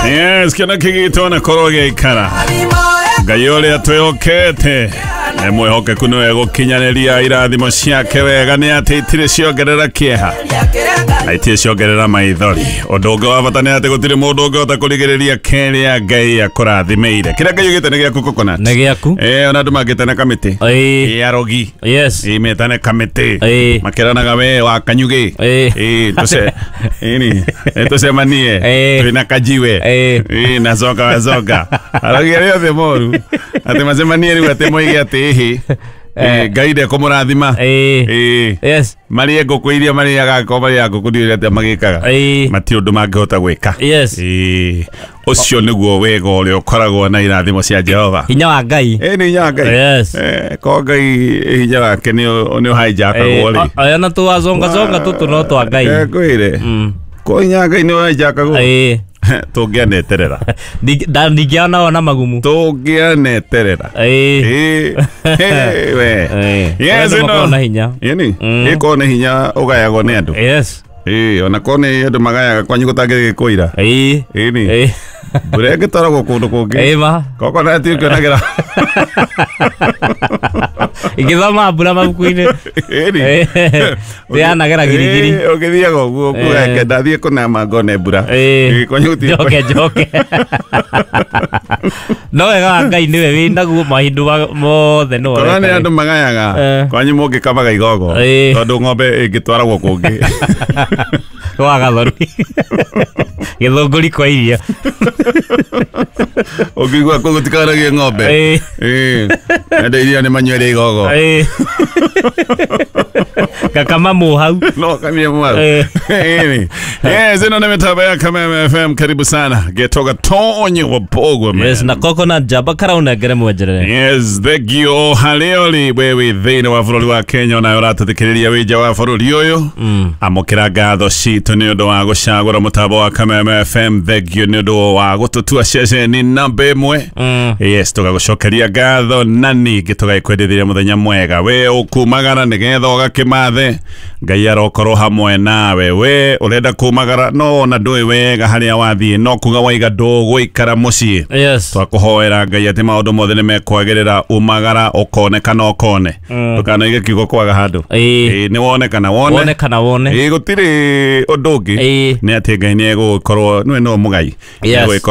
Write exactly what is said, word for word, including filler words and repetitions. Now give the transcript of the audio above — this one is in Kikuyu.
Yes, kĩona kĩgĩtwo na korwo gĩaikara Ngai ũrĩa twĩhokete nĩ mwĩhokeku nĩwe gũkinyanĩria irathimo ciake wega nĩ atĩ itirĩ ciongerera kĩeha na itirĩ ciongerera maithori. Ũndũ ũngĩ wa bata nĩ atĩ gũtirĩ mũndũ ũngĩhota kũrigĩrĩria kĩrĩa Ngai akũrathimĩire. Kĩrĩa Ngai ugĩte nĩ gĩaku Coconut. Nĩ gĩaku. Eh, ona andũ mangĩtana kamĩtĩ. Ĩĩ. Ĩ arogi. Yes. Ĩ metane kamĩtĩ. Ĩĩ. Makĩranaga we wa kanyugĩ. Ĩĩ. Ĩ tũce ĩni tũcemanie Ĩĩ. twĩna kajiwe. Ĩĩ. Ĩ na zoka wa zoka. Arogi arĩa othe moru. Atĩ macemanie rĩu atĩ moige atĩ ĩhĩ. Ĩ Ngai ndekũmũrathima. Ĩĩ. Ĩ Yes. marĩe ngũkũ iria marĩaga angĩkorwo marĩaga ngũkũ ndiũĩ atĩa magĩkaga. Ĩĩ. Matirĩ ũndũ mangĩhota gwĩka. Yes. Ĩ ũcio nĩguo wega ũrĩa ũkoragwo na irathimo cia Jehova. Hinya wa Ngai. Ĩ nĩ hinya wa Ngai. Yes. Eh, ko Ngai hinya wake nĩ nĩ ũhaijakagwo rĩ. Aya na tuwazonga zonga tũtũ no twa Ngai. Eh, ngwĩre. Mm. Ko hinya wa Ngai nĩ ũhaijakagwo. Ĩĩ. Tũngĩaneterera. Ndingĩona ona magumu. Tũngĩaneterera. Ĩĩ. Ĩ ĩ, we. Ĩĩ. Yes, Andũ ĩno. makoragwo na hinya. Ĩni. Mm. Ĩkorwo nĩ hinya ũgayagwo nĩ andũ. Yes. Ĩ ona korwo nĩ andũ magayaga kwanyu gũtangĩgĩkũira. Ĩĩ. Ĩni. Ĩĩ. Mbura ĩngĩtwaragwo kũndũ kũngĩ. Ĩĩ ma. Coconut ũkĩonagĩra. Ingĩthoma mbura mabuku-inĩ. Ĩni. Ndĩanagera girigiri. Ĩ, ũgĩthiaga ũguo ũkuga Ĩ. reke ndathiĩ kũnama ngone mbura. Ĩ. Ĩ, kwanyu gũtirĩ- Njoke njoke. No wega wa Ngai nĩwe wĩnaguo mahinda ma- mothe nĩwe Korwo nĩ ũreka. andũ magayaga Eh. kwanyu mũngĩkamaga igogo Ĩ. tondũ ng'ombe ĩngĩtwaragwo kũngĩ. Wa gathoni. Gĩthũngũri kwa iria. Ũngĩigua kũu gũtikanagĩe ng'ombe. Ĩ. Ĩ. Andũ iria nĩ manyuere igogo. Ĩ. Gakama mũhau. No kamie mwaru. Ĩ. Ĩni. Yes, ĩno nĩ mĩtambo ya Kameme F M. Karibu sana. Getoga Tonyo wa Bogwe man. Yes, na Coconut Jaba karaunengere mwenjerere. Yes, thengio harĩa ũrĩ we wĩ thĩinĩ wa bũrũri wa Kenya onawe ũratũthikĩrĩria wĩ nja wa bũrũri ũyũ. Amũkĩra ngatho citũ nĩ ũndũ wa gũcagũra mũtambo wa Kameme F M. Thengio nĩ ũndũ wa gũtũtua ceceni namba ĩmwe. Yes, tũgagũcokeria ngatho na ningĩ tũgagĩkwendithĩria mũthenya mwega. We ũkumagara nĩgetha ũgakĩmathe Ngai arokorwo hamwe nawe. We ũrenda kumagara no ona ndũĩ wega harĩa wathiĩ no kuga waiga ndũgũikara mũciĩ. Yes. Twakũhoera Ngai atĩ maũndũ mothe nĩ mekwagĩrĩra umagara ũkonekana ũkone. Ndũkanoige kiugo kwaga handũ. Ĩĩ. Ĩĩ, nĩ wonekana wone. Wone kana wone. Ĩĩ, gũtirĩ ũndũ ũngĩ. Ĩĩ. Nĩ atĩ Ngai nĩ egũgĩkorwo nĩwe no mũgai. Yes. Nĩ egũgĩkorwo